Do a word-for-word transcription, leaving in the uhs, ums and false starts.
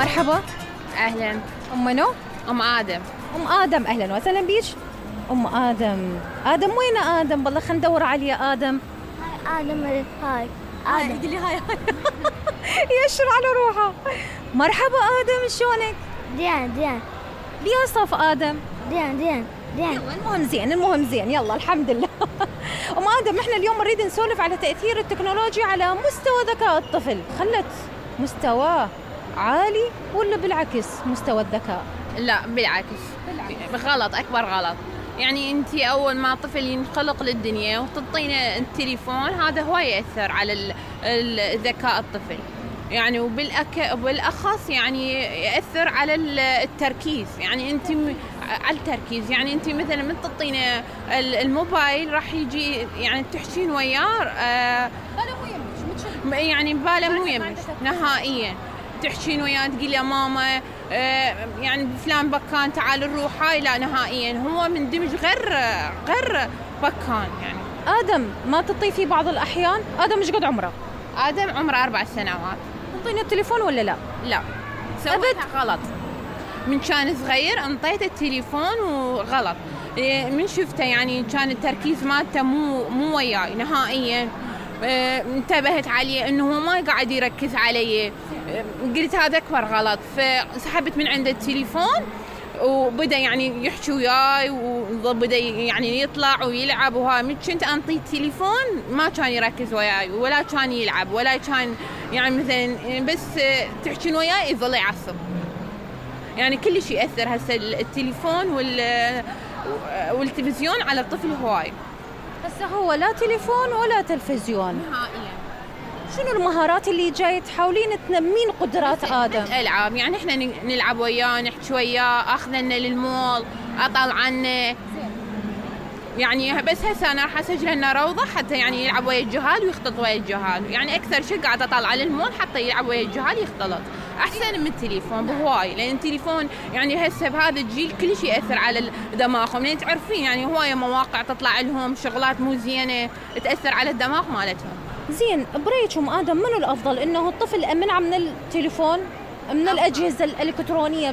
مرحبا. أهلاً. أم منو؟ أم آدم. أم آدم، أهلاً وسهلاً بيش. أم آدم، آدم وين آدم؟ والله خلينا ندور عليه يا آدم. هاي آدم، هاي آدم. قولي هاي هاي. يشر على روحه. مرحبا آدم، شلونك؟ ديان ديان. بيصف آدم. ديان ديان ديان. يلا المهم زين، المهم زين، يلا الحمد لله. أم آدم، إحنا اليوم نريد نسولف على تأثير التكنولوجيا على مستوى ذكاء الطفل. خلت مستواه عالي ولا بالعكس مستوى الذكاء؟ لا بالعكس. بالعكس. غلط، أكبر غلط. يعني أنت أول ما طفل ينخلق للدنيا وتعطينه التليفون، هذا هو يأثر على الذكاء الطفل. يعني وبالأك وبالأخص يعني يأثر على التركيز. يعني أنت م... على التركيز، يعني أنت مثلا من تعطينه الموبايل راح يجي يعني تحكين وياه آه باله مو يمش، يعني باله مو يمش نهائيا. تحكين وياه تقول يا ماما آه يعني فلان بكان تعال نروح، هاي لا نهائيا، هو مندمج غير غير بكان. يعني آدم ما تطي في بعض الأحيان؟ آدم ايش قد عمره؟ آدم عمره أربع سنوات. انطينا التليفون ولا لا؟ لا، سويتها غلط. من كان صغير انطيته التليفون وغلط. من شفته يعني كان التركيز مالته مو مو وياي نهائيا. اه انتبهت عليه انه هو ما قاعد يركز علي. اه قلت هذا اكبر غلط، فسحبت من عنده التليفون وبدا يعني يحكي وياي وبدا يعني يطلع ويلعب. وها من كنت انطي التليفون ما كان يركز وياي ولا كان يلعب ولا كان يعني مثلا بس تحكين وياي يظل يعصب. يعني كل شيء يأثر هسه التليفون وال والتلفزيون على الطفل هواي. هسه هو لا تليفون ولا تلفزيون نهائيا. شنو المهارات اللي جاي تحاولين تنمين قدرات آدم؟ الألعاب، يعني احنا نلعب وياه، نحكي وياه، اخذنا للمول، اطلعنا. يعني بس هسه انا راح اسجل لنا روضه حتى يعني يلعب ويا الجهال ويختلط ويا الجهال. يعني اكثر شيء قاعد اطلع للمول حتى يلعب ويا الجهال يختلط، احسن من التليفون بهواي. لان التليفون يعني هسه بهذا الجيل كل شيء ياثر على دماغهم. لان تعرفين يعني هوايه مواقع تطلع لهم شغلات مو زينه تاثر على الدماغ مالتهم. زين، بريكم آدم منو الافضل، انه الطفل امنع من التليفون من الاجهزه الالكترونيه